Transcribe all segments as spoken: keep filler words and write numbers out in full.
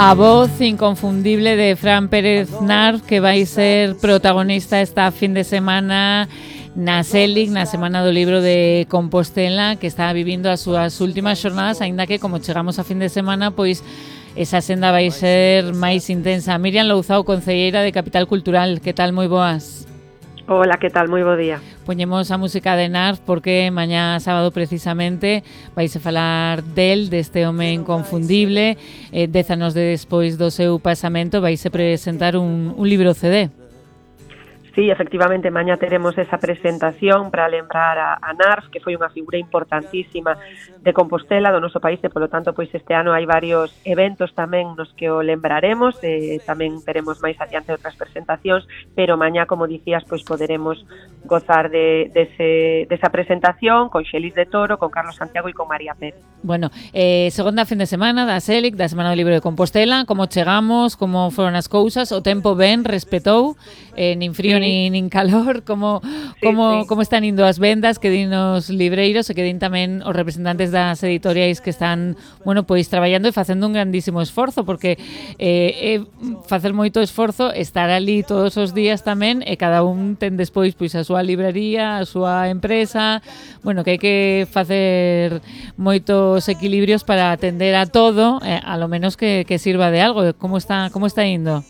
A voz inconfundible de Fran Pérez Narf, que vai ser protagonista esta fin de semana na Selig, na Semana do Libro de Compostela, que está vivindo as súas últimas xornadas, aínda que como chegamos a fin de semana, pois esa senda vai ser máis intensa. Miriam Louzao, concelleira de Capital Cultural, que tal? Moi boas. Hola, que tal? Moi bo día. Poñemos a música de Narf porque mañá sábado precisamente vais a falar del, deste home inconfundible. Eh, dez anos de despois do seu pasamento vais a presentar un, un libro C D. Sí, efectivamente, mañá teremos esa presentación para lembrar a, a Narf, que foi unha figura importantísima de Compostela, do noso país, e polo tanto, pois este ano hai varios eventos tamén nos que o lembraremos, e tamén teremos máis adiante outras presentacións, pero mañá, como dicías, pois poderemos gozar de, de ese, desa presentación con Xelis de Toro, con Carlos Santiago e con María Pérez. Bueno, eh, segunda fin de semana da Selig, da Semana do Libro de Compostela, como chegamos, como foron as cousas, o tempo ben, respetou, eh, nin frío sí. nin, nin calor, como, sí, como, sí. como están indo as vendas, que din os libreiros e que din tamén os representantes das editoriais que están, bueno, pois traballando e facendo un grandísimo esforzo, porque eh, eh, facer moito esforzo, estar ali todos os días tamén, e cada un ten despois pois a súa librería, a súa empresa, bueno, que hai que facer moitos equilibrios para atender a todo, eh, a lo menos que, que sirva de algo. Como está, como está indo?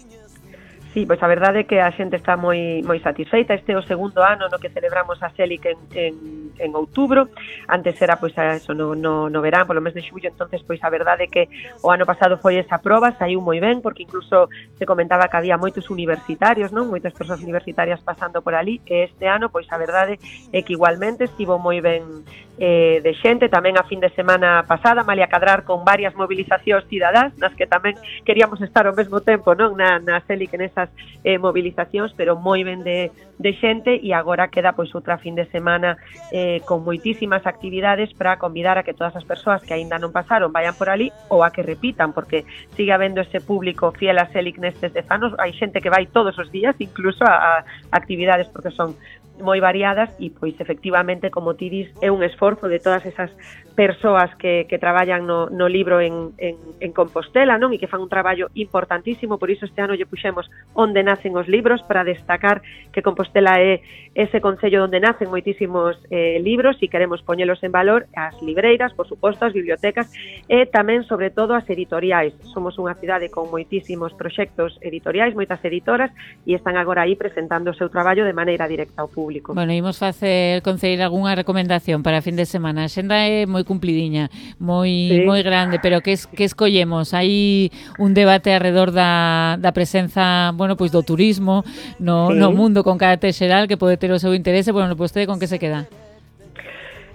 Sí, pois a verdade é que a xente está moi moi satisfeita. Este é o segundo ano no que celebramos a Selig en, en, en outubro. Antes era pois a eso no, no, no verán, polo mes de xullo. Entonces pois a verdade é que o ano pasado foi esa proba, saiu moi ben, porque incluso se comentaba que había moitos universitarios, non? Moitas persoas universitarias pasando por ali, e este ano pois a verdade é que igualmente estivo moi ben eh, de xente. Tamén a fin de semana pasada, malia cadrar con varias movilizacións cidadás, nas que tamén queríamos estar ao mesmo tempo, non? Na, na Selig, en esas eh, movilizacións, pero moi ben de, de xente, e agora queda pois outra fin de semana eh, con moitísimas actividades para convidar a que todas as persoas que aínda non pasaron vayan por ali, ou a que repitan, porque sigue habendo ese público fiel a Selig nestes dez anos. Hai xente que vai todos os días, incluso a, a actividades, porque son moi variadas, e pois efectivamente, como ti dis, é un esforzo de todas esas persoas que, que traballan no, no libro en, en, en Compostela, non? E que fan un traballo importantísimo. Por iso este ano lle puxemos onde nacen os libros, para destacar que Compostela é ese concello onde nacen moitísimos eh, libros, e queremos poñelos en valor as libreiras, por suposto, as bibliotecas, e tamén, sobre todo, as editoriais. Somos unha cidade con moitísimos proxectos editoriais, moitas editoras, e están agora aí presentando o seu traballo de maneira directa ao público. Bueno, imos facer, concelleira, algunha recomendación para a fin de semana. A xenda é moi cumplidiña, moi sí. moi grande, pero que, es, que escollemos? Hai un debate alrededor da, da presenza, bueno, pois do turismo no, sí. no mundo con carácter xeral, que pode ter o seu interese. Bueno, pois vostede con que se queda?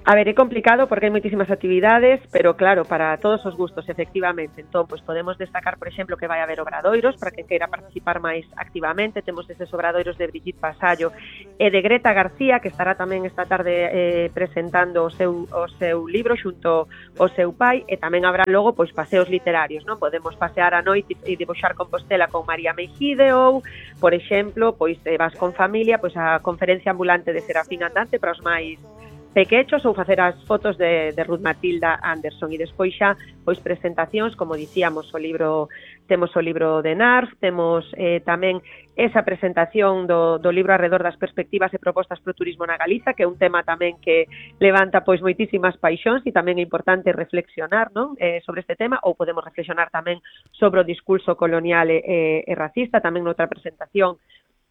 A ver, é complicado porque hai moitísimas actividades, pero claro, para todos os gustos, efectivamente. Entón, pois podemos destacar, por exemplo, que vai haber obradoiros para quen queira participar máis activamente. Temos eses obradoiros de Brigitte Pasallo e de Greta García, que estará tamén esta tarde eh, presentando o seu, o seu libro xunto ao seu pai, e tamén habrá logo pois paseos literarios, non? Podemos pasear a noite e dibuixar Compostela con María Mejide, ou, por exemplo, pois eh, vas con familia, pois a conferencia ambulante de Serafín Andante para os máis pequechos, ou facer as fotos de, de Ruth Matilda Anderson. E despois xa, pois presentacións, como dicíamos, o libro, temos o libro de Narf, temos eh, tamén esa presentación do, do libro alrededor das perspectivas e propostas pro turismo na Galiza, que é un tema tamén que levanta pois moitísimas paixóns, e tamén é importante reflexionar, non? Eh, sobre este tema, ou podemos reflexionar tamén sobre o discurso colonial e, e, e racista. Tamén noutra presentación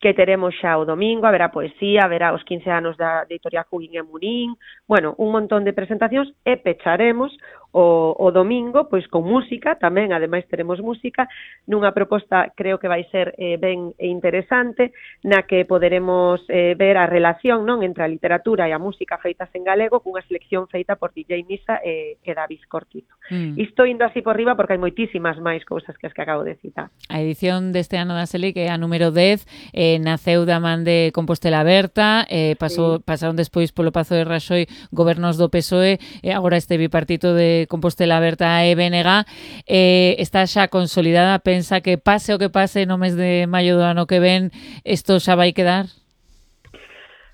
que teremos xa o domingo, haberá poesía, haberá os quince anos da editorial Hugging e Munín, bueno, un montón de presentacións, e pecharemos o, o domingo, pois con música, tamén, ademais teremos música, nunha proposta, creo que vai ser eh, ben interesante, na que poderemos eh, ver a relación, non, entre a literatura e a música feitas en galego, cunha selección feita por D J Misa e, e David Cortito. Mm. Isto indo así por riba porque hai moitísimas máis cousas que as que acabo de citar. A edición deste ano da Selig, que é a número dez, eh, naceu da man de Compostela Aberta, eh, pasou, sí. pasaron despois polo Pazo de Raxoi gobernos do P S O E, e agora este bipartito de Compostela Aberta e B N G, eh, está xa consolidada. Pensa que pase o que pase no mes de maio do ano que ven, isto xa vai quedar?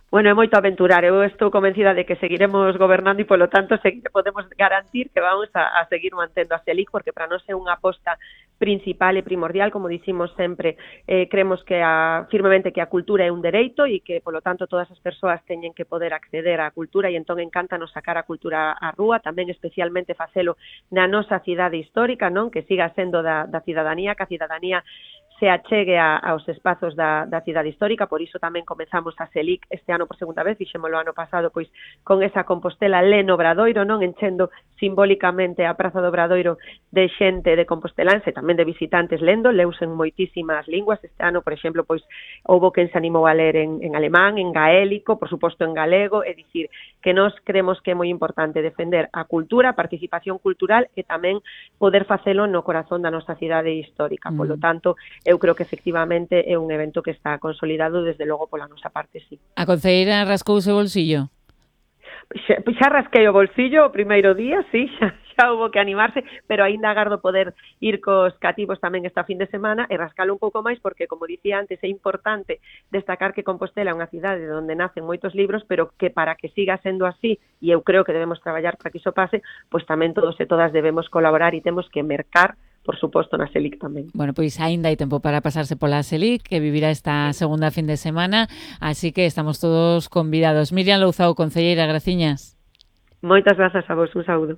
Bueno, é moito aventurar. Eu estou convencida de que seguiremos gobernando e, polo tanto, seguir, podemos garantir que vamos a, a seguir mantendo a CELIC, porque para nós é unha aposta principal e primordial, como dicimos sempre, eh, creemos que a, firmemente que a cultura é un dereito e que, polo tanto, todas as persoas teñen que poder acceder á cultura, e entón encántanos sacar a cultura á rúa, tamén especialmente facelo na nosa cidade histórica, non, que siga sendo da, da cidadanía, que a cidadanía se achegue a, aos espazos da, da cidade histórica. Por iso tamén comezamos a CELIC este ano por segunda vez, fixémolo ano pasado pois con esa Compostela Leno Obradoiro, non, enchendo simbólicamente a Praza do Obradoiro de xente de composteláns e tamén de visitantes lendo, leus en moitísimas linguas. Este ano, por exemplo, pois houbo quen se animou a ler en, en alemán, en gaélico, por suposto en galego, é dicir, que nós creemos que é moi importante defender a cultura, a participación cultural e tamén poder facelo no corazón da nosa cidade histórica. Polo tanto, eu creo que efectivamente é un evento que está consolidado, desde logo pola nosa parte, sí. A concelleira rascouse o bolsillo? Xa, xa rasquei o bolsillo o primeiro día, sí, xa, xa houve que animarse, pero aínda agardo poder ir cos cativos tamén esta fin de semana e rascalo un pouco máis, porque, como dicía antes, é importante destacar que Compostela é unha cidade onde nacen moitos libros, pero que para que siga sendo así, e eu creo que debemos traballar para que iso pase, pois tamén todos e todas debemos colaborar e temos que mercar, por suposto, na CELIC tamén. Bueno, pois aínda hai tempo para pasarse pola CELIC, que vivirá esta segunda fin de semana, así que estamos todos convidados. Miriam Louzao, concelleira, graciñas. Moitas grazas a vos, un saúdo.